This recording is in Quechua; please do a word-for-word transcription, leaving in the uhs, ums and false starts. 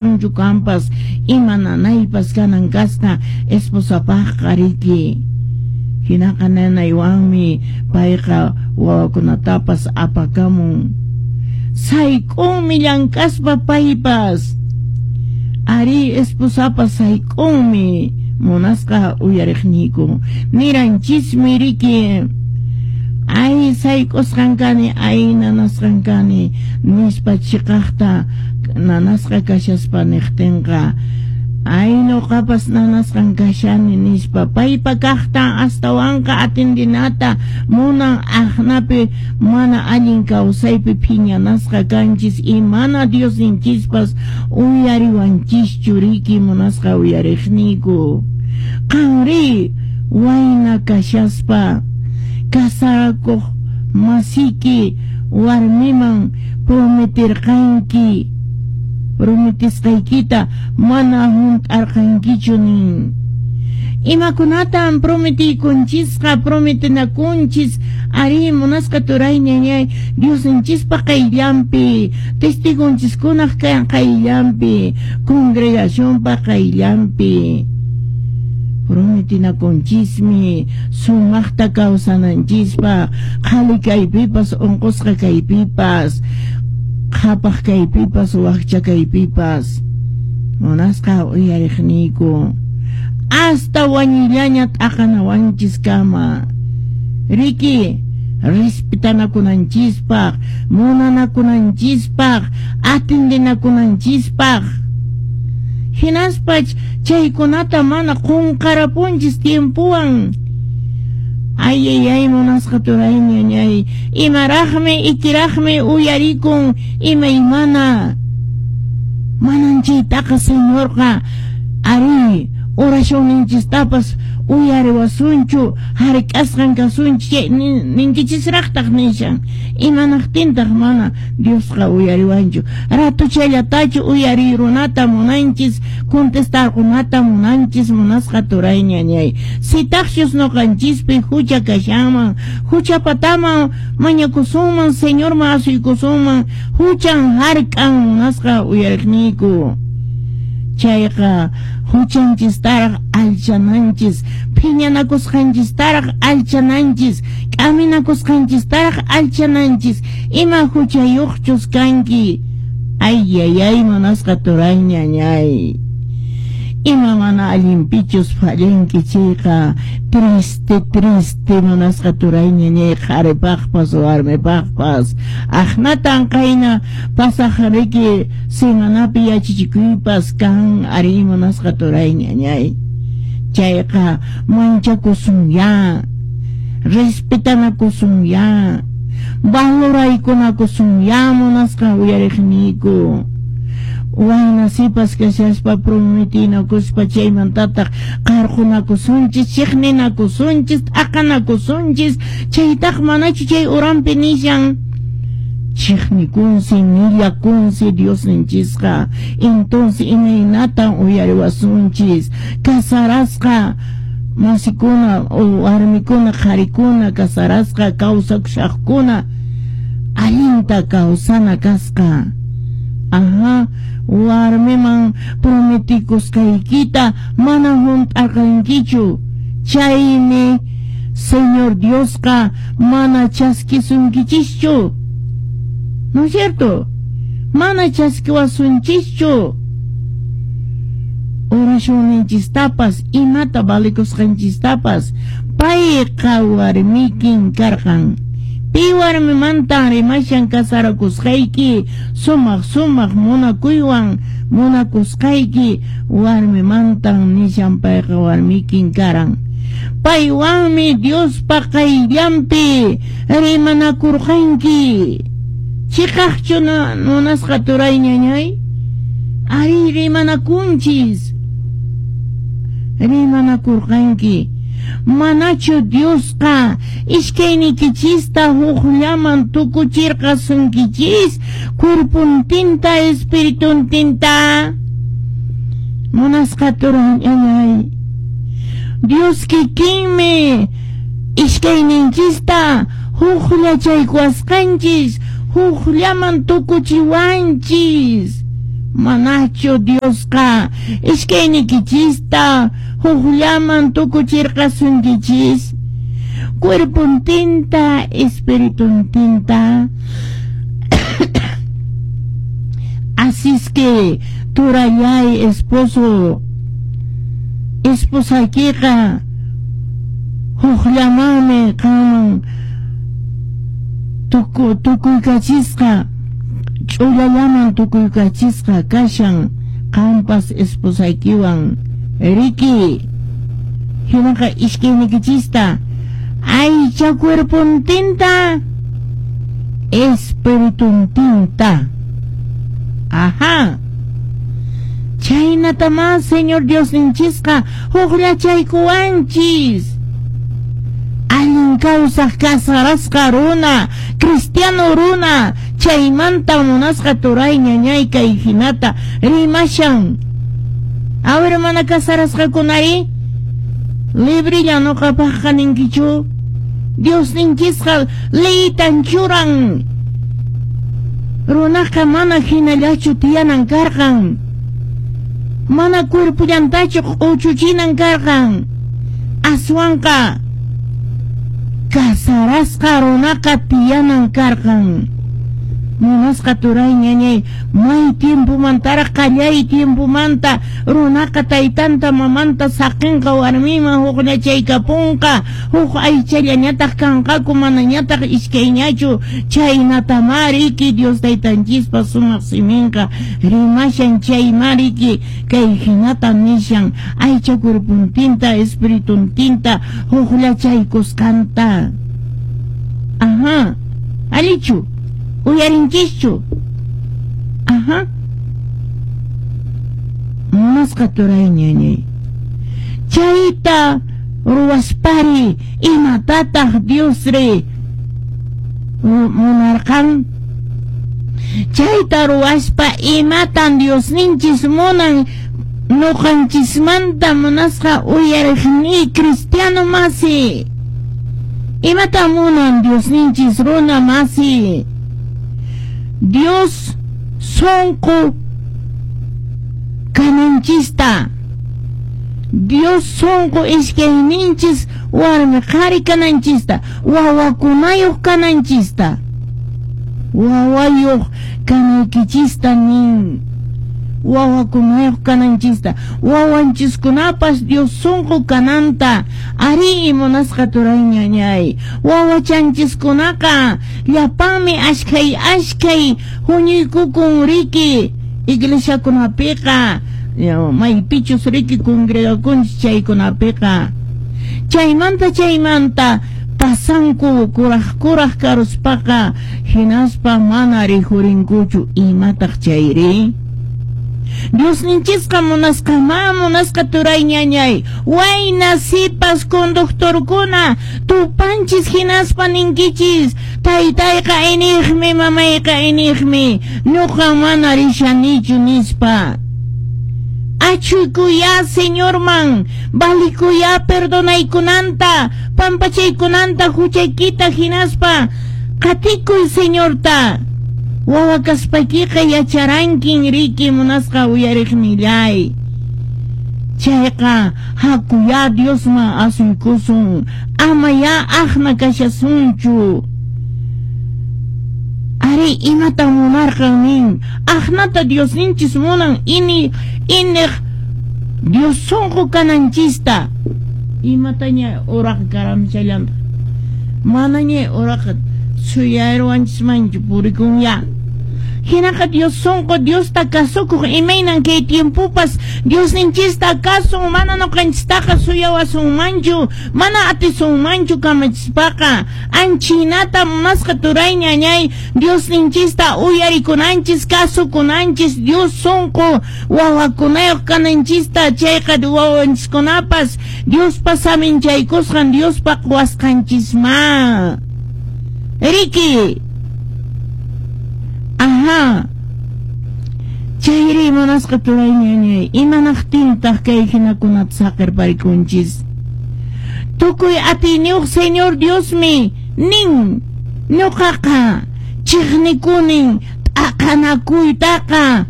Kampas ima nanaypas kanan kasqa esposapaqqa riki. Hinaqa nanaywanmi payqa wawakunatapas apakamun. Sayk'unmi llank'aspa paypas. Ari esposapas sayk'unmi munasqa uyariqniyku. Niranchismi riki. Ay sayk'usqan kani, ay nanasqan kani, nispa chiqaqta nanasqa kashaspa niqtinqa ay nuqapas nanasqan kashani nispa paypa kaqtan astawanqa atendinata munan aqnapi mana allin kawsaypi phiñanasqa kanchis y mana Diosninchispas uyariwanchischu riki munasqa uyariqniyku. Qanri wayna kashaspa kasarakuq masiki warmiman prometirqanki prometisqaykita mana hunt'arqankichu nin. Imakunatan prometikunchisqa prometinakunchis ari munasqa turay ñañay Diosninchispa qayllanpi testigonchiskunaq qayllanpi congregacionpa qayllanpi prometinakunchismi sumaqta kawsananchispa qhali kaypipas unqusqa kaypipas qhapaq kaypipas wakcha kaypipas munasqa uyariqniyku hasta wañuyllaña t'aqanawanchis kama riki respetanakunanchispaq munanakunanchispaq atendinakunanchispaq hinaspa chaykunata mana qunqarapunchis tiempowan. Ay, ay, ay, munasqa turay ñañay imaraqmi ikiraqmi uyarikun imaymana manan chaytaqa Señorqa ari oracionninchistapas uyariwasunchu hark'asqan kasunchik ninkichisraqtaq nishan imanaqtintaq mana Diosqa uyariwanchu ratuchallatachu uyarirunata munanchis contestarkunata munanchis munasqa turay ñañay sitaqchus nuqanchispi hucha kashanman huchapataman mañakusunman Señorman asuykusunman huchan hark'an munasqa uyariqniyku chayqa huchanchistaraq alchananchis phiñanakusqanchistaraq alchananchis k'aminakusqanchistaraq alchananchis ima huchayuqchus kanki ay ay ay munasqa turay ñañay ima mana allinpichus fallanki chayqa triste triste munasqa turay ñañay qharipaqpas warmipaqpas aqnatan qayna pasaq riki semanapi yachachikuypas kan ari munasqa turay ñañay chayqa manchakusunya respetanakusunya valoraykunakusunya munasqa uyariqniyku wayna sipas kashaspa prometinakuspa chaymantataq qarqunakusunchis chiqninakusunchis t'aqanakusunchis chaytaq manachu chay uranpi nishan chiqnikunsi millakunsi Diosninchisqa entonces imaynatan uyariwasunchis kasarasqa masikuna o warmikuna qharikuna kasarasqa kawsakushaqkuna allinta kawsana kasqa. Ajá, warmiman prometikusqaykita mana hunt'arqankichu chaymi Señor Diosqa mana chaskisunkichischu. ¿No es cierto? Mana chaskiwasunchischu. Oracionninchistapas imata valikusqanchistapas payqa warmikin karqan. Pi warmimantan rimashan kasarakusqayki sumaq sumaq munakuywan munakusqayki warmimantan nishan payqa warmikin karan. Paywanmi Diospa qayllanpi rimanakurqanki. Chiqaqchu munasqa turay ñañay? Ari rimanakunchis. Rimanakurqanki. Manachu Diosqa iskaynikichista hukllaman tukuchirqasunkichis cuerpuntinta espirituntinta. Munasqa turay ñañay. Dios kikinmi iskayninchista hukllachaykuwasqanchis hukllaman tukuchiwanchis. Manachu Diosqa iskaynikichista hukllaman tukuchirqasunkichis, cuerpontinta espirituntinta. Así es que turallay esposo, esposaykiqa hukllamanmi qanman tuku tukuykachisqa, ch'ullallaman tukuykachisqa kashan qampas esposaykiwan riki. Hinaqa iskaynikichista aycha cuerpontinta espirituntinta. Ajá. Chaynatamá Señor Diosninchisqa hukllachaykuwanchis. Allin kawsaq casarasqa runa, cristiano runa, chaymanta munasqa turay ñañay kay hinata rimashan. A ver, mana casarasqakunari, librilla nuqapaqqa ninkichu. Diosninchisqa leytan churan. Runaqa mana hinallachu tiyanan karqan, mana cuerpullantachu q'uchuchinan karqan. Aswanqa casarasqa runaqa tiyanan karqan. Munasqa turay ñañay, may tiempomantaraq qallay tiempomanta runaqa taytanta mamanta saqinqa warmiman hukllachaykapunqa, huk aychallañataq kanqaku manañataq iskayñachu. Chaynatamá riki Dios taytanchispa sumaq siminqa rimashan. Chaymá riki kay hinata nishan aycha cuerpontinta espirituntinta hukllachaykusqanta. Ajá, allichu uyarinchischu. Ajá. Munasqa turay ñañay, chayta ruwaspari imatataq Diosri munarqan? Chayta ruwaspa imatan Diosninchis munan nuqanchismanta munasqa uyariqni cristiano masi? Imata munan Diosninchis runa masi? Dios sonqo kananchista, Dios sonqo iskayninchis warmi qhari kananchista, wawakunayuq kananchista, wawayuq kanaykichista nin, wawakunayuq kananchista, wawanchiskunapas Dios sonqo kananta. Ari munasqa turay ñañay, wawachanchiskunaqa llapanmi ashkhay ashkhay huñuykukun riki iglesiakunapiqa, maypichus riki congregakunchis chaykunapiqa. Chaymanta chaymanta pasanku kuraj kuraj karuspaqa, hinaspa mana rijurinkuchu. Imataq chayri? Diosninchisqa munasqa ma munasqa turay ñañay, wayna sipas conductorkuna tupanchis hinaspa ninkichis, taytayqa iniqmi, mamayqa iniqmi, ñuqa mana rishanichu nispa. Achuykuya Señorman, valikuya perdonaykunanta, pampachaykunanta huchaykita hinaspa qatikuy Señorta. Wawa kaspaykiqa yacharankin riki munasqa uyariqnillay. Chayqa hakuya Diosman asuykusun, amaya aqna kashasunchu. Ari imata munarqan nin, aqnata Diosninchis munan ini iniq Dios sonqo kananchista. Imataña uraqa karamchallanta, manaña uraqa suyayruwanchismanchu purikunya. Hinaqa Dios sonqo Diosta kasukuq imaynan kay tiempopas Diosninchista kasun, mana nuqanchistaqa suyawasunmanchu, mana atisunmanchu kamachispaqa. Anchinata munasqa turay ñañay, Diosninchista uyarikunanchis, kasukunanchis, Dios sonqo wawakunayuq kananchista. Chayqa wawanchiskunapas Diospa saminchaykusqan, Diospa quwasqanchisma riki. Ajá. Chayri munasqa turay ñañay, imanaqtintaq kay hinakunata saqirparikunchis? Tukuy atiyniyuq Señor Diosmi nin, ñuqaqa chiqnikunin t'aqanakuytaqa,